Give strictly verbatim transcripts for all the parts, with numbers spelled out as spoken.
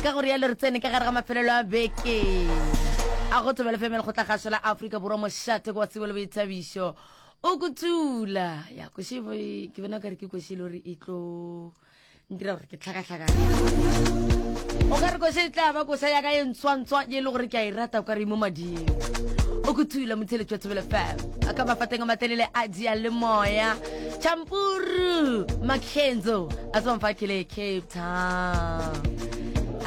Ka go rialo re tsene ka gare ga mafelelo a beke a go Thobela F M, lekgotlakgašo la Afrika Borwa, mošate kwa tsebo le boithabišo. O kuthula ya koše, ke bona kare ke koše e le gore e tlo ntira gore ke tlhakatlhakane. O ka re koše e tla ba koša ya ka ye ntswantswa ye e le gore ke a e rata, o ka re mo mading. O kuthula motheletši wa Thobela F M a ka mafateng a matelele a dia le moya. Champuru Mackenzo a tsebang fa kele Cape Town.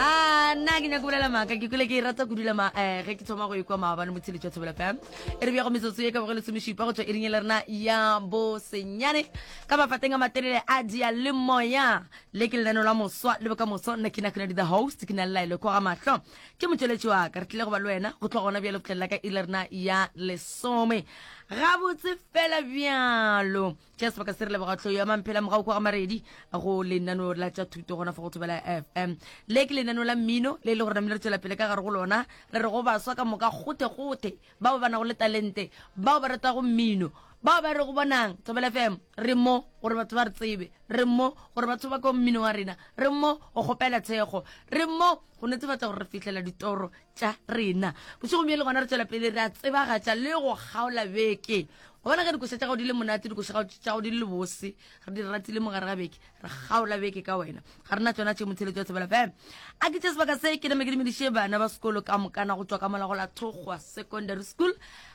A nna ke nyako bolela maaka, ke kule ke e rata kudu ma um ge ke thoma go ikwa maabane. Motheletši wa Thobela F M, e re bjago metsotso ye ka boge lesomešupa go tšwa iring e le rena ya bosenyane ka mafateng a matelele a dia le moya. Le ke lenaneo la moswa le bokamoso. Nna ke nakona di the host, ke na le Laelo kwa ga mahlo ke motšweletši wa ka. Re tlile go ba le wena go tloga gona bjale go tlelela ka iri le rena ya lesome gabotse fela. Bjalo tša sebaka se re leboga tlho ya Mamphela mogau kwa ga Maredi go lenaneo la tša thuto gona fa go Thobela F M. Le ke lenaneo la mmino le e le gore namile re tswela pele ka gare go lona. Re re go baswa ka moka gote-gote bao ba nago le talente, bao ba ratago mmino, bao ba re go bonang Thobela F M, re mo gore batho ba re tsebe, re mo gore batho ba ko mmino wa rena, re mo go kgopela thekgo, re mo go netefatša gore re fihlela ditoro tša rena. Bošegong bjo le gona re tswela pele re a tsebagatša le go kgaola beke gobana ge dikoša tša gago di le monate, dikoša tša gago di le bose, re di ratile mo gare ga beke, re kgaola beke ka wena. Ga rena tsona tše motheletso wa Thobela F M. A ke tše sebaka se ke name ke dumediše bana ba sekolo ka mokana go tšwa ka mola go la Thokgwa Secondary School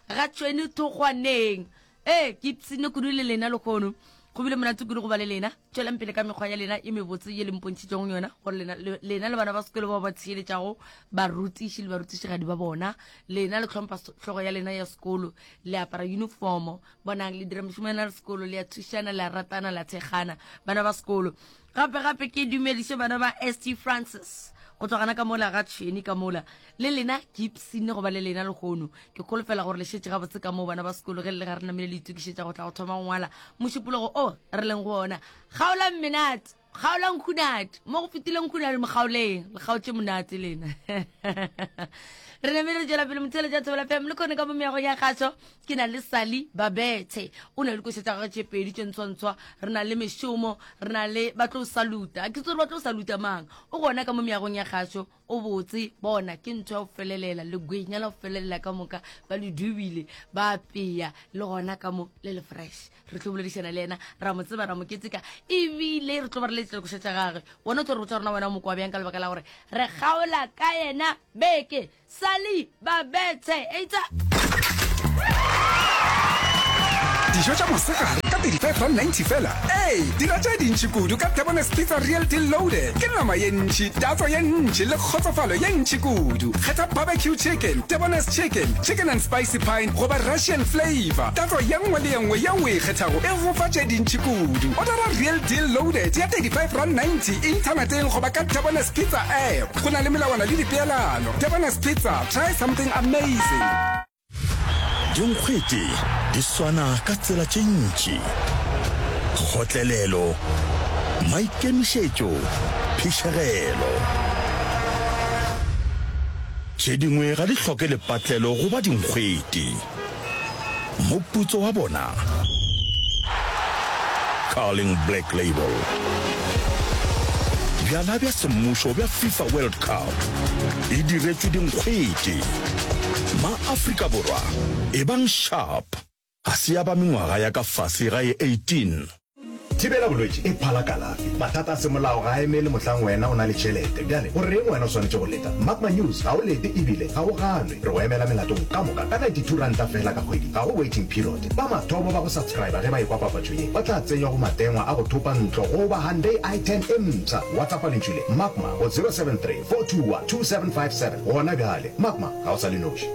ga Tšhweni Thokgwaneng. Ee, ke ipsene kudu le lena lekgono, go bile monate kudu go ba le lena. Tswelang pele ka mekgwa ya lena e mebotse ye le mpontšhitšego yona, gore lena lena le bana ba sekolo bao ba theeletšago barutiši le barutišigadi ba bona. Lena le tlhompha hlogo ya lena ya sekolo, le apara uniformo, bonang le dira mešomo ya lena le sekolo, le a thušana, le a ratana, le a thekgana, bana ba sekolo. Gape gape ke dumediše bana ba St Francis go tloga gana ka mola ga Tšhweni ka mola. Le lena ke ipsene go ba le lena lekgono. Ke kholofela gore le šetše gabotse ka moo, bana ba sekolo, ge le le ga re namile le itokišetša go tla go thoma go ngwala mošupologo o re leng go ona. Kgaolang menate, kgaolang khunate mo go fetileng khunate, mokgaoleng le kgaotše monate lena. Re namile re tšwela pele motheletša Thobela F M. Le kgone ka mo meagong ya kgašo ke na le Sally Babethe, o na le dikoša tša gagwe tše pedi tše ntshwantshwa. Re na le mešomo, re na le ba tlo saluta, ke tsore ba tlo saluta mang. O gona ka mo meagong ya kgašo, o botse bona ke ntho ya go felelela legwenya la go felelela ka moka, ba le dubile ba apea le gona ka mo le le fresh. Re tlo boledišana le yena, ra mo tseba, ra mo keteka, ebile re tlo ba re letša dikoša tša gagwe. Wena o tlo re botša rona wena o mokwa bjang ka lebaka la gore re kgaola ka yena beke. Sally Babethe eitsa. Dijo tša mosegare ka thirty-five rand ninety fela. Ee, dira tše dintši kudu ka Debonairs Pizza Real Deal Loaded. Ke nama ye ntši, tatso ye ntši le kgotsofalo ye ntši kudu. Kgetha barbecue chicken, Debonairs chicken, chicken and spicy pine goba Russian flavor. Tatso ye nngwe le ye nngwe yeo o e kgethago e go fa tše dintši kudu. Ordera Real Deal Loaded ya thirty-five rand ninety inthaneteng goba ka Debonairs Pizza app. Go na le melawana le dipeelano. Debonairs Pizza, try something amazing. Dinkgwete di swana ka tsela tše ntši: kgotlelelo, maikemišetšo, phišegelo. Tše dingwe ga di hloke lepatlelo goba dinkgwete. Moputso wa bona? Carling Black Label. Bjala bja semmušo bja FIFA World Cup e diretšwe dinkgwete. Ma-Afrika Borwa, ebang sharp. Ga se ya ba mengwaga ya ka fase ga ye eighteen. Thibela bolwetši e phala kalafi. Mathata a semolao ga a emele mohlang wena o na le tšhelete. Bjale go reng wena o swanetše go leta? Magma News ga o lete ebile ga o ganwe. Re go emela melatong ka moka ka ninety-two ranta fela ka kgwedi. Ga go waiting period. Ba mathomo ba go subscriba ge ba ekwa papatšo ye ba tla tsenywa go matengwa a go thopa ntlo goba Hyundai i ten e mpsha. WhatsAppa lentšu le Magma go zero seven three four two one two seven five seven gona bjale. Magma ga o sa le noši.